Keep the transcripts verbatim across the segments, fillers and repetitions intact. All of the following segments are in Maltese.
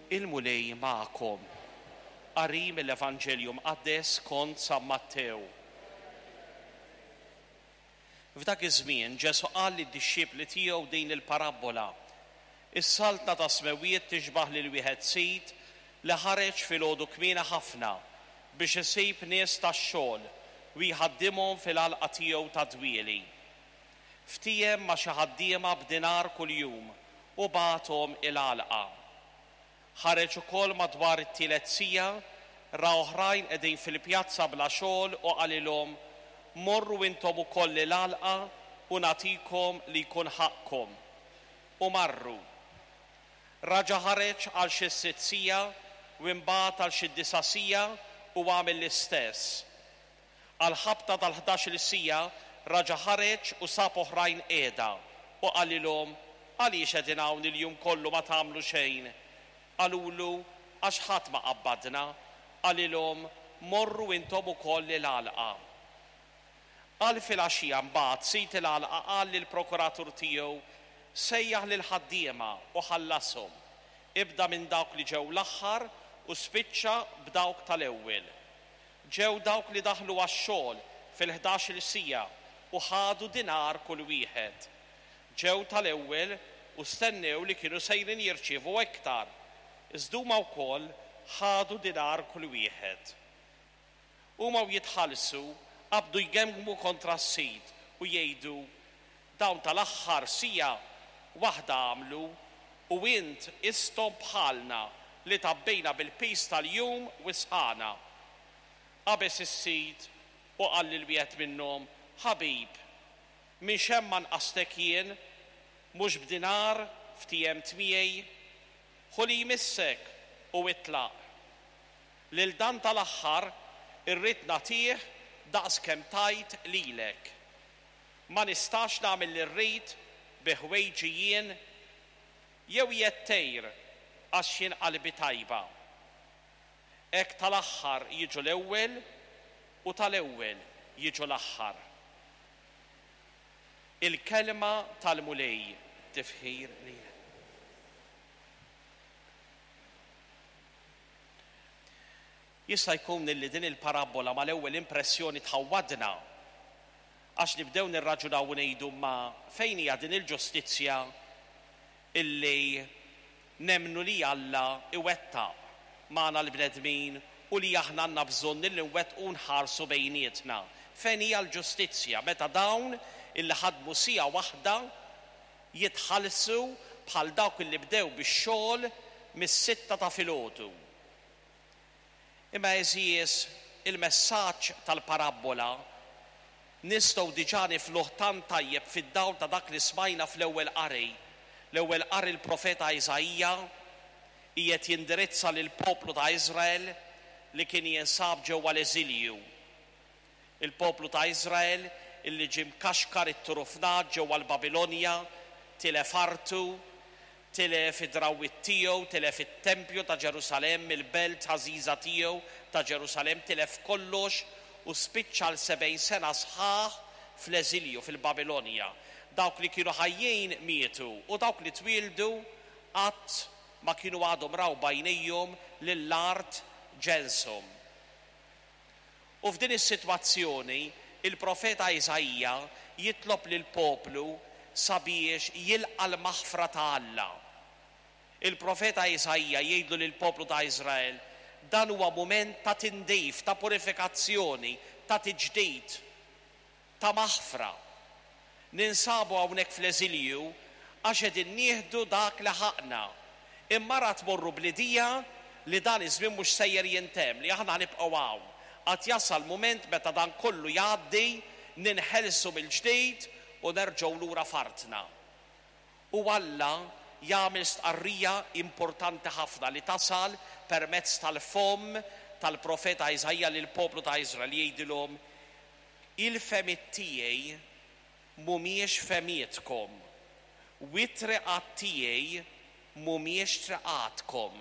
Il-Mulej magħkom. Qari mill-Evanġelju Mqaddes skont San Mattew. F'dak iż-żmien Ġesù qal lid-dixxipli tiegħu din il-parabbola. Is-saltna tas-smewwiet tixbah lil wieħed sid li ħareġ filgħodu kmieni ħafna biex isib nies tax-xogħol u jħaddimhom fil-għalqa tiegħu ta' dwieli. Ftiehem ma' xi ħaddiema b'dinar kuljum u bagħathom il-għalqa. Ħareġ ukoll madwar it-tielet siegħa, ra oħrajn qegħdin fil-pjazza bla xogħol u qalilhom, Morru intom ukoll il-għalqa u nagħtikom li jkun ħaqqkom. U marru. Raġa' ħareġ għal xi sitt siegħa u imbagħad għal xi disa' siegħa u għamel l-istess. Għall-ħabta tal-ħdax-il siegħa raġa' ħareġ u sab oħrajn qiegħda u qalilhom, Għaliex qegħdin hawn il-jum kollu ma tagħmlu xejn? Qalulu, Għax ħadd ma qabbadna. Qalilhom, Morru intom ukoll il-għalqa. Għal filgħaxija mbagħad sid il-għalqa qal lill-prokuratur tiegħu, Sejjaħ lill-ħaddiema u ħallashom. Ibda minn dawk li ġew l-aħħar u spiċċa b'dawk tal-ewwel. Ġew dawk li daħlu għax-xogħol fil-ħdax-il siegħa u ħadu dinar kull wieħed. Ġew tal-ewwel u stennew li kienu sejrin jirċievu iktar, iżda huma wkoll ħadu dinar kull wieħed. Huma u jitħallsu qabdu jgemgmu kontra s-sid u jgħidu, Dawn tal-aħħar siegħa waħda għamlu u int qisthom bħalna li tgħabbejna bil-piż tal-jum u s-sħana. Qabeż is-sid u qal lil wieħed minnhom, Ħabib, minn x'hemm ma nqastek jien? Mhux b'dinar ftiehemt miegħi? Ħu li jmissek u itlaq. Lil dan tal-aħħar irrid nagħtih daqs kemm tajt lilek. Ma nistax nagħmel li rrid bi ħwejġi jien? Jew qiegħed tgħir għax jien qalbi tajba? Hekk tal-aħħar jiġu l-ewwel u tal-ewwel jiġu l-aħħar. Il-kelma tal-Mulej, tifħir lilek. Jista' jkun illi din il-parabbola mal-ewwel impressjoni tħawwadna għax nibdew nirraġunaw u ngħidu ma fejn hija din il-ġustizzja illi nemmnu li Alla iwettaq magħna l-bnedmin u li aħna għandna bżonn illi nwettqu u nħarsu bejnietna. Fejn hija l-ġustizzja meta dawn illi ħadmu siegħa waħda jitħallsu bħal dawk illi bdew bix-xogħol mis-sitta ta' filgħodu? Imma għeżież, il-messaġġ tal-parabbola nistgħu diġà nifluh tant tajjeb fid-dawl ta' dak li smajna fl-ewwel qari. L-ewwel qari l-profeta Iżaija qiegħed jindirizza lill-poplu ta' Iżrael li kien jinsab ġewwa l-eżilju. Il-poplu ta' Iżrael illi ġie mkaxkar itturufnat ġewwa l-Babilonja, tilef artu, tilef id-drawwiet tiegħu, tilef it-tempju ta' Ġerusalemm, il-belt għażiża tiegħu ta' Ġerusalemm, tilef kollox u spiċċa għal sebgħin sena sħaħ fl-eżilju fil-Babilonja. Dawk li kienu ħajjin mietu u dawk li twieldu qatt ma kienu għadhom raw b'għajnejhom lill-art ġenshom. U f'din is-sitwazzjoni, il-profeta Iżaija jitlob lill-poplu sabiex jilqa' l-maħfra ta' Alla. Il-profeta Iżaija jgħidlu lill-poplu ta' Iżrael, dan huwa mument ta' tindif, ta' purifikazzjoni, ta' tiġdid, ta' maħfra. Ninsabu hawnhekk fl-eżilju għax qegħdin nieħdu dak li ħaqqna. Imma ara tmorru bl-idea li dan iż-żmien mhux sejjer jintemm, li aħna ħa nibqgħu hawn. Għad jasal mument meta dan kollu jgħaddi, ninħelsu mill-ġdid u nerġgħu lura f'artna. U Alla jagħmel stqarrija importanti ħafna li tasal permezz tal-fomm tal-profeta Iżaija lill-poplu ta' Iżrael, jgħidilhom, Il-fehmiet tiegħi mhumiex fehmietkom, u t-triqat tiegħi mhumiex triqatkom.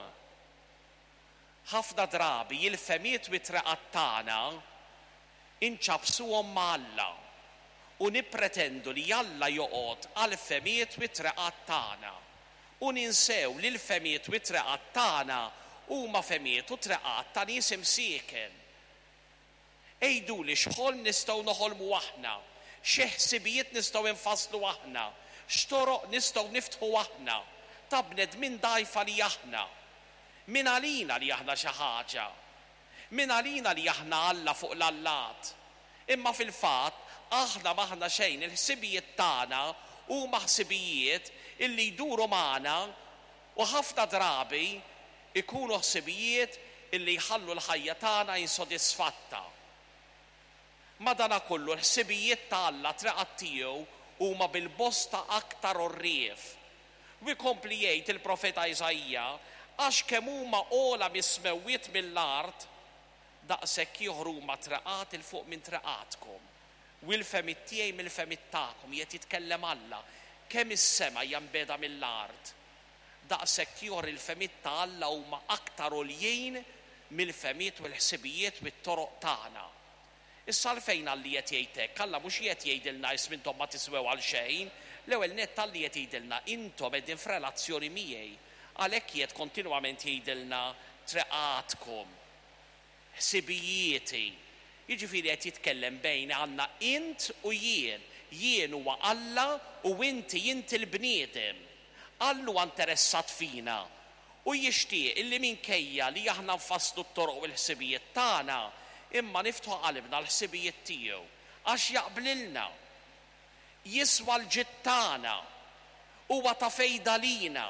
Ħafna drabi il-fehmiet u t-triqat tagħna inċappsuhom ma' Alla u nippretendu li Alla joqgħod għall-fehmiet u t-triqat tagħna. U ninsew li l-fehmiet u t-triqat tagħna huma fehmiet u triqat ta' nies imsieken. Għiduli x'ħolm nistgħu noħolmu aħna, xi ħsibijiet nistgħu nfasslu aħna, x'toroq nistgħu niftħu aħna, ta' bnedmin dgħajfa li aħna. Min għalina li aħna xi ħaġa. Min għalina li aħna Alla fuq l-allat. Imma fil-fatt aħna m'aħna xejn, il-ħsibijiet tagħna huma ħsibijiet illi jduru magħna u ħafna drabi ikunu ħsibijiet illi jħallu l-ħajja tagħna insodisfatta. Madanakollu l-ħsibijiet ta' Alla, triqat tiegħu huma bil-bosta aktar għorrief. U jkompli jgħid il-profeta Iżaija, għax kemm huma ogħla mis-smewwiet mill-art, daqshekk ieħor huma triqat 'il fuq minn triqatkom. U l-fehmiet tiegħi mill-fehmiet tagħkom, qiegħed jitkellem Alla. Kemm is-sema hija mbiegħda mill-art, daqshekk ieħor il-fehmiet ta' Alla huma aktar għoljin mill-fehmiet u l-ħsibijiet u t-toroq tagħna. Issa għalfejn Alla qed jgħid hekk? Alla mhux qiegħed jgħidilna isma' intom ma tiswew għal xejn. L-ewwel nett Alla qed jgħidilna intom qegħdin f'relazzjoni miegħi. Għalhekk qiegħed kontinwament jgħidilna triqatkom, ħsibijieti. Jiġifieri qed jitkellem bejn għandna int u jien. Jien huwa Alla u inti inti l-bniedem. Alla huwa interessat fina u jixtieq illi minkejja li aħna nfasslu t-toroq u l-ħsibijiet tagħna, imma niftħu qalbna l-ħsibijiet tiegħu għax jaqblilna, jiswa l-ġid tagħna, huwa ta' fejda lina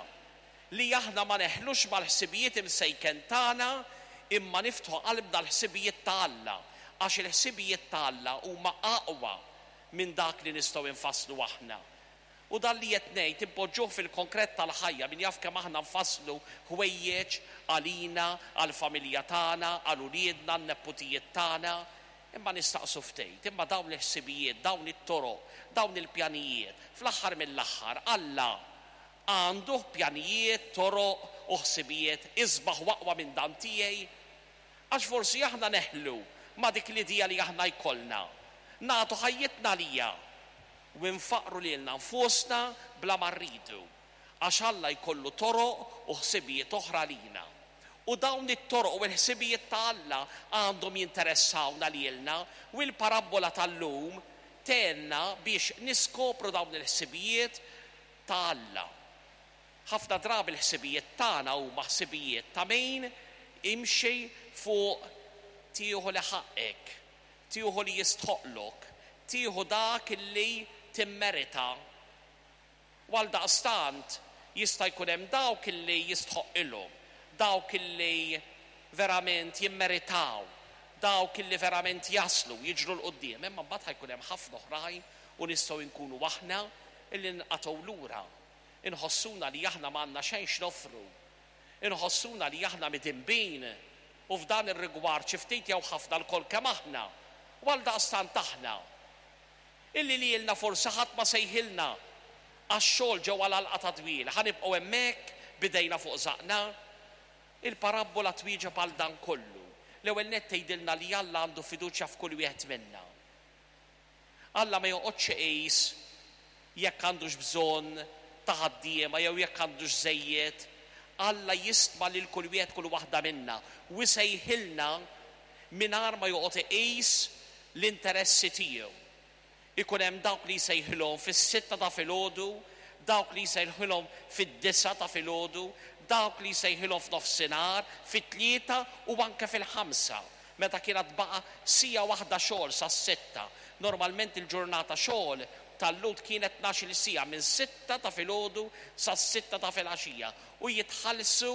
li aħna ma neħlux mal-ħsibijiet imsejken tagħna, imma niftħu qalbna l-ħsibijiet ta' Alla, għax il-ħsibijiet ta' Alla huma aqwa minn dak li nistgħu nfasslu aħna. U dan li qed ngħid impoġġuh fil-konkret tal-ħajja, min jaf kemm aħna nfasslu ħwejjeġ għalina, għall-familja tagħna, għal uliedna, għan-neputijiet tagħna, imma nistaqsu ftit, imma dawn il-ħsibijiet, dawn it-toroq, dawn il-pjanijiet, fl-aħħar mill-aħħar Alla għandu pjanijiet, toroq u ħsibijiet isbaħ u aqwa minn dan tiegħi? Għax forsi aħna neħlu ma' dik l-idea li aħna jkollna, nagħtu ħajjitna lija u nfaqru lilna nfusna bla ma rridu, għax Alla jkollu toroq u ħsibijiet oħra lina. U dawn it-toroq u l-ħsibijiet ta' Alla għandhom jinteressawna lilna, u l-parabbola tal-lum tgħinna biex niskopru dawn il-ħsibijiet ta' Alla. Ħafna drabi l-ħsibijiet tagħna huma ħsibijiet ta' min imxi fuq tieħu li ħaqek, tieħu li jistħoqlok, tieħu dak li timmerita. U għaldaqstant jista' jkun hemm dawk li jistħoqilhom, dawk li verament jimmeritaw, dawk li verament jaslu, jiġru 'l quddiem, imma mbagħad ħajkun hemm ħafna oħrajn u nistgħu nkunu aħna illi nqatgħu lura. Inħossuna li aħna m'għandna xejn x'noffru. Inħossuna li aħna midinbin u f'dan ir-rigward xi ftit jew ħafna lkoll kemm aħna. U għaldaqstant aħna illi lilna forsi ħadd ma sejħilna għax-xogħol ġewwa l-għalqa ta' dwieli, ħa nibqgħu hemmhekk bidejna fuq żaqna. Il-parabbola twieġeb għal dan kollu. L-ewwel nett tgħidilna li Alla għandu fiduċja f'kull wieħed minna. Alla ma joqgħodx iqis jekk għandux bżonn ta' ħaddiema jew jekk għandux żejjed. Alla jistma lil kull wieħed kull waħda minna u jsejħilna mingħajr ma joqgħod iqis l-interessi tiegħu. Ikun hemm dawk li jsejħilhom fis-sitta ta' filgħodu, dawk li jsejħilhom fid-disgħa ta' filgħodu, dawk li jsejħilhom f'nofsinhar, fit-tlieta u anke fil-ħamsa, meta kienet baqa' siegħa waħda xogħol sas-sitta. Normalment il-ġurnata xogħol tal-Lhud kienet tnax-il siegħa minn sitta ta' filgħodu sas-sitta ta' filgħaxija u jitħallsu,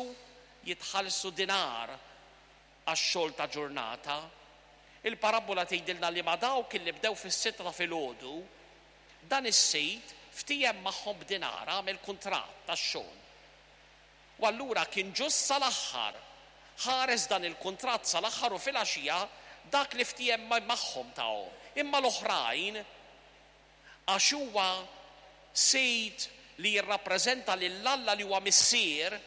jitħallsu dinar għax-xogħol ta' ġurnata. Il-parabbola tgħidilna li ma' dawk li bdew fis-sitta ta' filgħodu, dan is-sid ftiehem magħhom b'dinar, għamel kuntratt tax-xogħol. U allura kien ġust sal-aħħar, ħares dan il-kuntratt sal-aħħar u filgħaxija dak li ftiehem magħhom tahom. Imma l-oħrajn, għax huwa sid li jirrappreżenta lil Alla li huwa missier,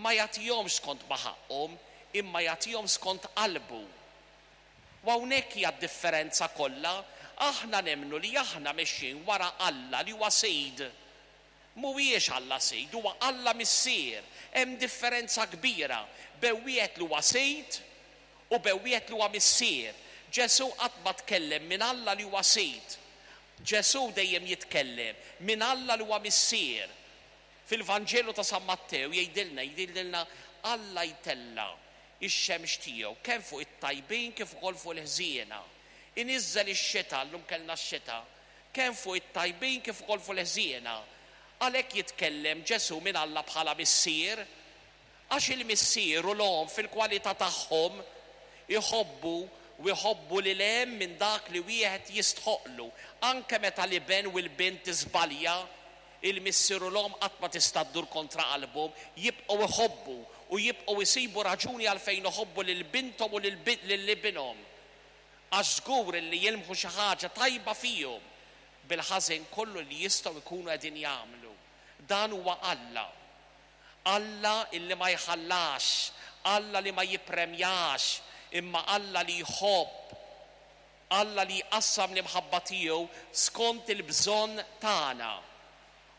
ma jagħtihomx skont ma ħaqhom, imma jagħtihom skont qalbu. U hawnhekk hija d-differenza kollha. Aħna nemmnu li aħna mexjin wara Alla li huwa sid. Mhuwiex Alla Sid, huwa Alla Missier. Hemm differenza kbira bejn wieħed li huwa Sid u bejn wieħed li huwa Missier. Ġesù qatt ma tkellem minn Alla li huwa Sid. Ġesù dejjem jitkellem minn Alla li huwa Missier. Fil-Vanġelu ta' San Mattew jgħidilna, jgħidilna Alla jtella' ix-xemx tiegħu kemm fuq it-tajbin kif ukoll fuq il-ħżiena. Iniżżel ix-xita, llum kellna x-xita, kemm fuq it-tajbin kif ukoll fuq il-ħżiena. Għalhekk jitkellem Ġesù minn Alla bħala Missier, għax il-missier u l-omm fil-kwalità tagħhom iħobbu u jħobbu lil hemm minn dak li wieħed jistħoqlu. Anke meta l-iben u l-bint tiżbalja, il-missier u l-omm qatt ma tista' ddur kontra qalbhom, jibqgħu jħobbu u jibqgħu jsibu raġuni għalfejn iħobbu lil binthom u lil ibinhom. Għax żgur li jilmħu xi ħaġa tajba fihom bil-ħażin kollu li jistgħu jkunu qegħdin jagħmlu. Dan huwa Alla. Alla illi ma jħallax, Alla li ma jippremjax, imma Alla li jħobb, Alla li jqassam l-imħabba tiegħu skont il-bżonn tagħna.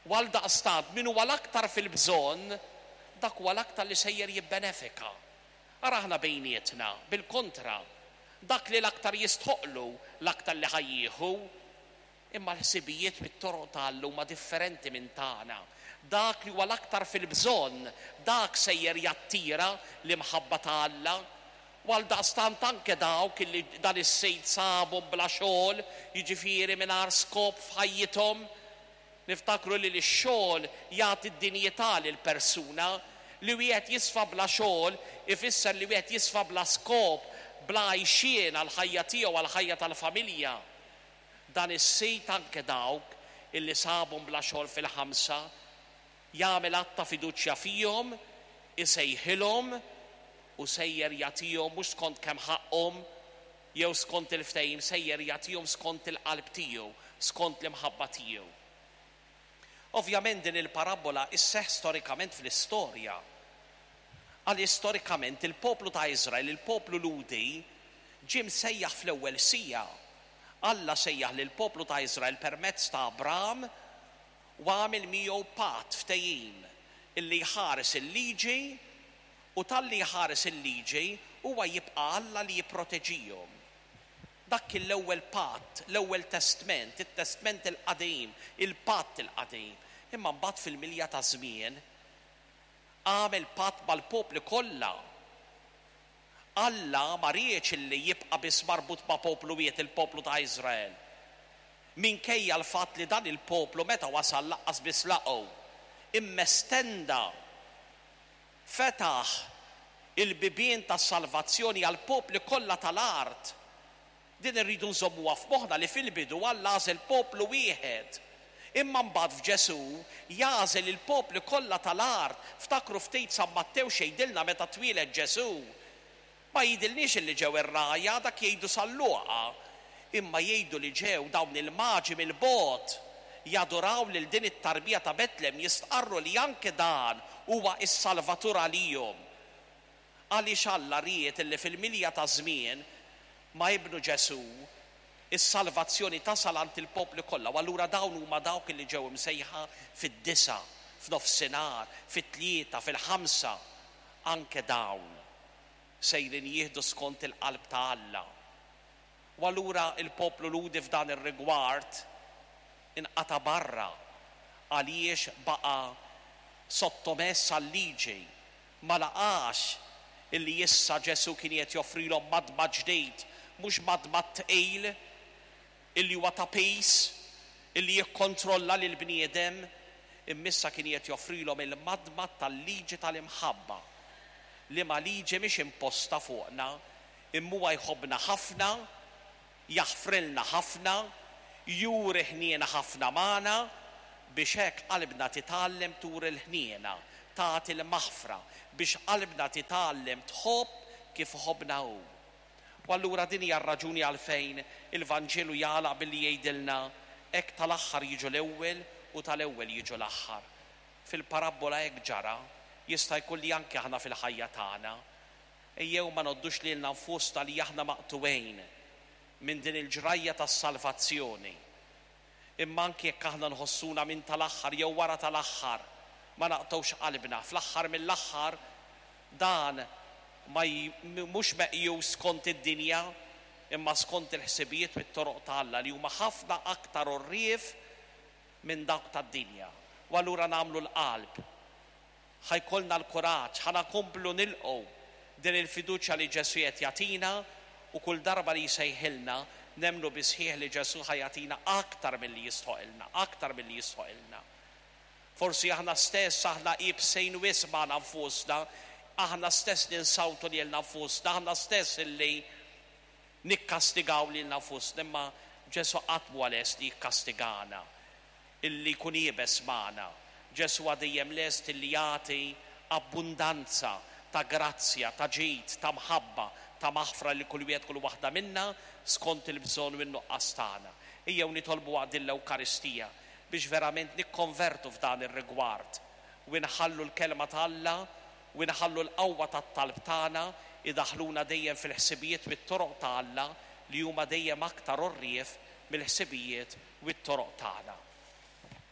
U għaldaqstant min huwa l-aktar fil-bżonn, dak huwa l-aktar li sejjer jibbenefika. Ara aħna bejnietna, bil-kontra, dak li l-aktar jistħoqlu, l-aktar li ħa jieħu. Imma l-ħsibijiet bit-toroq ta' Alla huma differenti minn tagħna. Dak li huwa l-aktar fil-bżonn, dak sejjer jattira l-imħabba ta' Alla. U għaldaqstant anke dawk li dan is-Sid sabhom bla xogħol, jiġifieri mingħajr skop f'ħajjithom. Niftakru li x-xogħol jagħti d-dinjità lill-persuna. Li wieħed jisfa bla xogħol ifisser li wieħed jisfa bla skop, bla għajxien għall-ħajja tiegħu, għall-ħajja tal-familja. Dan is-Sid anke dawk illi sabhom bla xogħol fil-ħamsa jagħmel att ta' fiduċja fihom, isejħilhom u sejjer jagħtihom mhux skont kemm ħaqhom jew skont il-ftehim, sejjer jagħtihom skont il-qalb tiegħu, skont l-imħabba tiegħu. Ovvjament din il-parabbola isseħħ storikament fl-istorja. Għal storikament il-poplu ta' Iżrael, il-poplu Lhudi, ġie msejjaħ fl-ewwel siegħa. Alla sejjaħ lill-poplu ta' Iżrael permezz ta' Abram u għamel miegħu patt, ftehim, illi jħares il-liġi, u talli jħares il-liġi huwa jibqa' Alla li jipproteġihom. Dak kien l-ewwel patt, l-ewwel testment, it-testment il-qadim, il-patt il-qadim. Imma mbagħad fil-milja ta' żmien għamel patt mal-popli kollha. Alla ma riedx illi jibqa' biss marbut ma' poplu wieħed, il-poplu ta' Iżrael. Minkejja l-fatt li dan il-poplu meta wasal laqqas biss laqgħu, imma estenda, fetaħ il-bibien tas-salvazzjoni għall-popli kollha tal-art. Din irridu nżommuha f'moħħna li fil-bidu Alla għażel poplu wieħed. Imma mbagħad f'Ġesù jagħżel il-popli kollha tal-art. Ftakru ftit San Mattew x'jgħidilna meta twieled Ġesù. Ma jgħidilniex illi ġew ir-rgħajja, dak jgħidu San Luqa. Imma jgħidu li ġew dawn il-maġi mill-bogħod jaduraw lil din it-tarbija ta' Betlem, jistqarru li anke dan huwa s-Salvatur għalihom. Għaliex Alla ried illi fil-milja ta' żmien ma' ibnu Ġesù is-salvazzjoni tasal għand il-popli kollha. U allura dawn huma dawk li ġew imsejħa fid-disa, f'nofsinhar, fit-tlieta, fil-ħamsa. Anke dawn sejrin jieħdu skont il-qalb ta' Alla. U allura il-poplu Lhudi f'dan ir-rigward inqata' barra għaliex baqa' sottomess għal-liġi, ma laqax illi issa Ġesù kien qed joffrilhom madmad ġdid, mhux madmad tqil illi huwa ta' pis, illi jikkontrolla lil bniedem, imma issa kien qed joffrilhom il-madmad tal-liġi tal-imħabba, li ma liġi mhix imposta fuqna, imma huwa jħobbna ħafna, jaħfrilna ħafna, juri ħniena ħafna magħna, biex hekk qalbna titgħallem turi l-ħniena, tagħti l-maħfra, biex qalbna titgħallem tħobb kif ħobbna hu. U allura din hija r-raġuni għalfejn il-Vanġelu jagħlaq billi jgħidilna hekk tal-aħħar jiġu l-ewwel u tal-ewwel jiġu l-aħħar. Fil-parabbola hekk ġara, jista' jkun li anke aħna fil-ħajja tagħna. Ejjew ma noddux lilna nfusna li aħna maqtuwejn minn din il-ġrajja tas-salvazzjoni. Imma anki jekk aħna nħossuna minn tal-aħħar jew wara tal-aħħar, ma naqtgħux qalbna. Fl-aħħar mill-aħħar dan ma mhux meqjus skont id-dinja, imma skont il-ħsibijiet u t-toroq ta' Alla li huma ħafna aktar għorrief minn dawk tad-dinja. U allura nagħmlu l-qalb, ħa jkollna l-kuraġġ, ħa nkomplu nilqgħu din il-fiduċja li Ġesù qed jagħtina, u kull darba li jsejħilna nemmnu bis-sħiħ li Ġesù ħa jagħtina aktar milli jistħoqilna, aktar milli jistħoqilna. Forsi aħna stess aħna iebsin wisq magħna nfusna, aħna stess ninsawtu lilna nfusna, aħna stess illi nikkastigaw lilna nfusna, imma Ġesù qatt mhu lest li jikkastigana, illi jkun iebes magħna. Ġesù dejjem lest illi jagħti abbundanza ta' grazzja, ta' ġid, ta' mħabba, ta' maħfra li kull wieħed kull waħda minna skont il-bżonn u n-nuqqas tagħna. Ejjew nitolbu waqt din l-Ewkaristija biex verament nikkonvertu f'dan ir-rigward u nħallu l-kelma ta' Alla u nħallu l-qawwa tat-talb tagħna idaħluna dejjem fil-ħsibijiet u t-toroq ta' Alla li huma dejjem aktar għorrief mill-ħsibijiet u t-toroq tagħna.